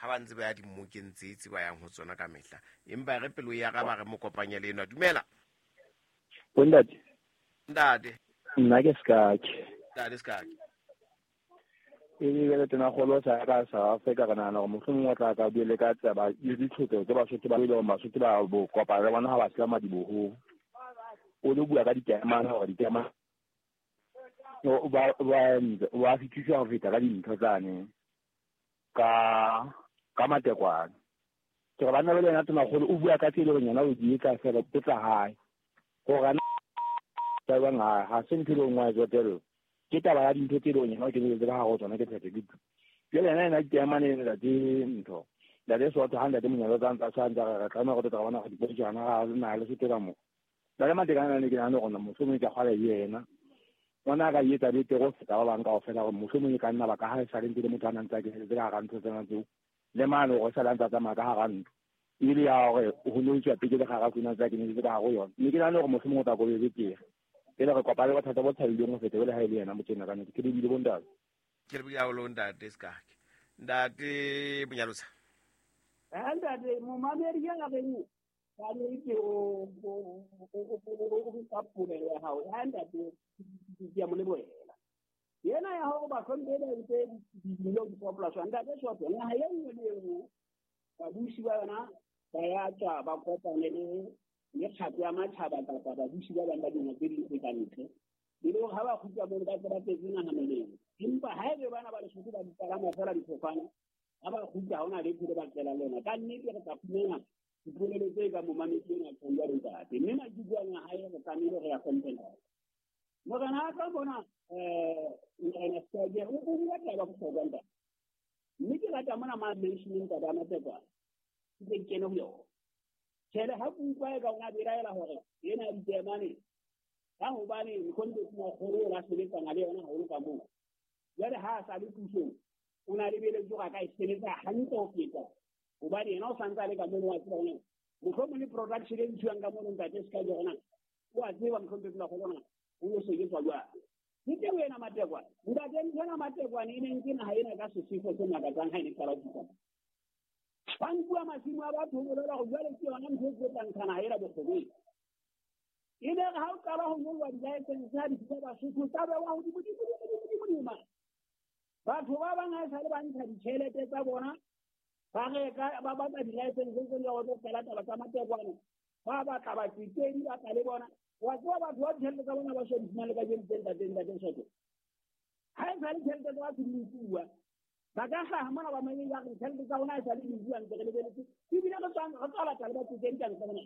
Ha ba ntse ba ya dimmokeng tse tse ba yang ho tsona ka mehla. Empa re pelo ya raba re mo kopanye le enwa. Dumela. Bontate. Ntate. Nna ke Sekake. Ntate Sekake. E le bjale tonakgolo sa ka South Africa re nahana gore mohlomongwe o tla ka bue le ka tsaba le ditlhokego tse Basotho ba e leng Basotho ba bo kopana le bona ha ba sela madibohong. O lo bua ka ditaemane gore ditaemane ba fetisa ho feta ka dintho tsane ka matekwane. Ke re banna ba le yena tonakgolo o bua ka tse e leng yena o di etsa fela ke tsa hae. Gore ana ba bang ha se ntho e leng wa e tsotella. Ke taba ya dintho tse leng yena o keneletse ka hare ho tsona ke phetho ke tu. Jwale yena yena ditaemane ntate ntho. Ntate Soto ha ntate Monyalo tsa ntsa tshwantsa re tlameha go tota bona go dipotso ga na le Sotho ka mo. Ntate Matekane ne ke nahana gore mohlomong e ka kgwala yena. Ngwana a ka etsa betere ho feta ba bang kaofela gore mohlomong e ka nna ba ka ha e sale ntse le motho a nang tsa keneletse ka hara ntho tsena tseo. Le mane gore sale a ntse a tsamaya ka hara ntlo. Ebile ya gore ho no itswa pele le gara tsena tsa keneletse ka hare ho yona. Mme ke nahana gore mohlomong o tla ko be betere. Pele re kopane bothata bo thabileng ho feta jwale ha e le yena motho ena ka nnete. Ke lebile bontate. Ke lebile haholo ntate Sekake. Ntate Monyalotsa. Ntate momamedi ya reng ka nnete o ka polelo ya hao. Ntate ke a mo lebohela. Yena ya hore bahlomphehi ba entse dilo di popolasi. Ntate Soto, naha e nngwe le e nngwe babusi ba yona ba ya tswa ba kopane le mekgatlo ya matjhaba kapa babusi ba bang ba dinaha tse ding tse ka ntle. E le hore ha ba kgutla mono ba tse ba tletse naha melemo. Empa ha ebe bana ba Lesotho ba di palama fela difofane, ha ba kgutla ha hona letho le ba tlelang lona. Ka nnete re tla fumana dipolelo tse ka momamedi ena tjhong jwalo ntate. Mme maikutlo ana a hae re tlamehile re ya hlomphe ntate. Morena a tla bona Morena Sekake o bua taba bohlokwa ntate. Mme ke rata mona ma mentioneng taba ya Matekwane. Ke tle ke kene ho yona. Tjhele ha ke utlwa e ka ona belaela hore ena ya ditaemane ka hobane Mkhonto Tonakgolo o la sebetsana le yona haholo ka moo. Jwale ha a sa le pusong, o na lebeletse hore a ka e sebetsa hantle ho feta hobane yena o santse a le ka mono wa tseba hore mohlomong le production e ntshiwang ka mono ntate se ka jona o a tseba Mkhonto Tonakgolo na o yo sebetswa jwang. Ke teng ena Matekwane. Ntate ntho ena Matekwane e neng ke naha ena ka sefefo se makatsang ha e ne qala ho fihla. Ba nkuwa masimo a batho ho bolela hore jwale ke yona ntho e tlo tla ntsha naha ena bokgobeng. E ne re ha o qala ho ngolwa di-license ha di fihla Basotho tsa bewa hodimo, dimo, dimo, dimo, dimo, dimo. Batho ba bang ha esale ba ntsha ditjhelete tsa bona, ba reka, ba batla di-license tse jwalo tsa qala taba tsa Matekwane. Ba batla batsetedi, ba tla le bona. Wa tseba batho ba ditjhelete tsa bona ba so di fumane kajeno tse ntate, ntate Soto. Ha esale tjhelete tsa batho di nkuwa. Ba ka hlaha mona ba mamedi ba re ditjhelete tsa rona ha esale di nkuwa ntse re lebeletse. Ebile re tswa batla le batsetedi ka ntle mona.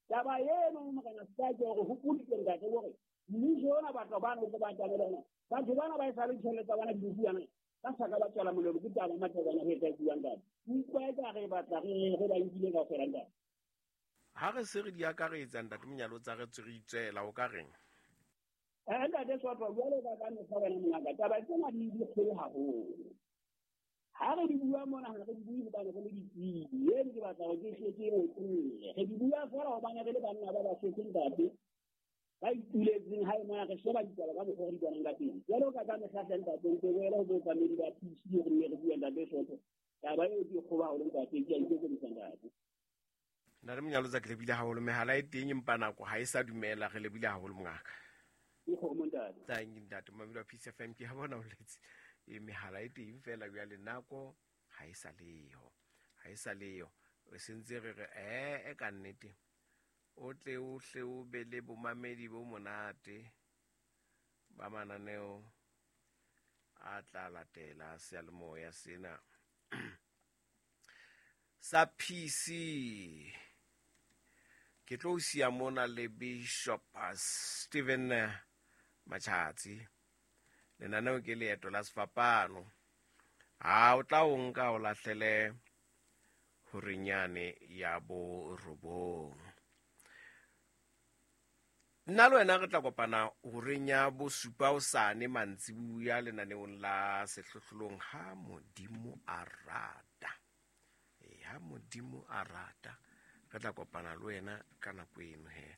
Taba eno Morena Sekake hore hopoditse ntate hore mmuso ona batho bana o tlo ba tlamela hore batho bana ba esale ditjhelete tsa bona di nkuwa na ba sa ka ba tswela molemo ke taba Matekwane ho etsa buang ntate. Utlwa eka re batla re ba nkile kaofela ntate. Ha re se re di akaretsa ntate Monyalotsa re tswe re itswela o ka reng? Ntate Soto jwalo ka ka mehla wena mongaka taba tsena di kgolo haholo. Ha re di bua mona ha re di bue hobane re le ditsebi. Eno ke batla hore ke hle ke e otlolle. Re di bua feela hobane re le banna ba Basotho ntate ba ituletseng hae mona re sheba ditaba ka mokgwa re di bonang ka teng. Jwalo ka ka mehla hle ntate ntse boele ho bookamedi ba PC re nne re bue ntate Soto. Taba eo ke e kgolo haholo ntate, ke a ikokobetsa ntate. Ntate Monyalotsa ke lebile haholo mehala e teng empa nako ha e sa dumela re lebile haholo mongaka. Ke kgomo ntate. Thank you ntate Mamelo wa Peace FM ke ha bona o letse. E mehala e teng fela jwale nako ha e sa leyo. Ha e sa leyo. Re sentse re re e ka nnete. O tle o hle o be le bomamedi bo monate ba mananeo a tla latela seyalemoya sena sa PC. Ke tlo siya mona le Bishop Stephen Machatsi. Lenaneo ke leeto la sefapano. Ha o tla o nka o lahlele horenyane ya borobong. Nna le wena re tla kopana horeng ya bosupa hosane mantsibuya lenaneong la sehlohlolong ha Modimo a rata. Ha Modimo a rata re tla kopana le wena ka nako eno he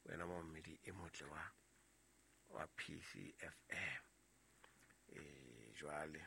wena momamedi e motle wa PCFM. Jwale